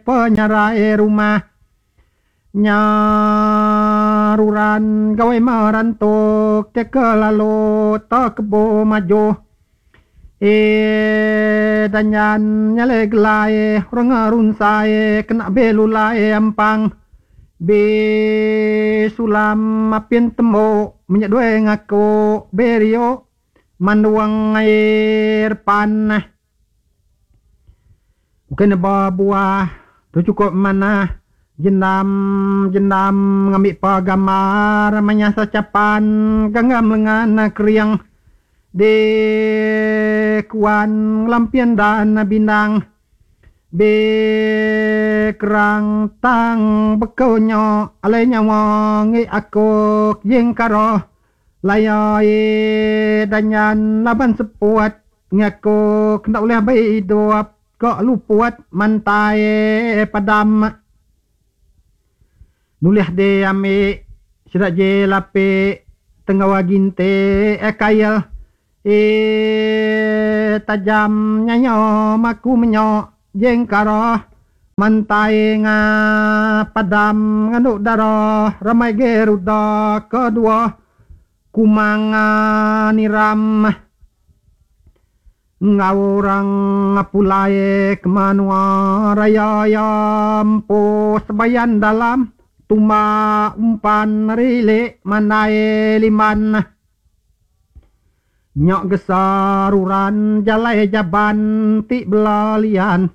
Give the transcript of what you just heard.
Penyarai rumah nya ruran gawai merantuk te ke lalu te kebo maju e danyan nyale gelai orang ngerunsai kena belulai ampang be sulam apin temu menyedue ngaku berio manduang air pan. Ukai neba buah tu chukup manah jendam jendam ngambi pa gambar manyah sechapan genggam lengan kering di kuan ngelampin dan bindang be kerang tang beku nyo alai nyawa ngi aku jing karo laya e danyan laban seput ngaku kena ulih bai idup Ka luput mantai padam nulih di ami sida je lapi tenggau ginti kail e tajam nyanyo maku menyo jengkara mantai nga padam nganu dara ramai geruda kedua kumang niram. Enggau orang pulai ke menua raya iya empu sebayan dalam tumba umpan rilik mandai limban. Nya gesa ruran jalai jaban ti bela lian.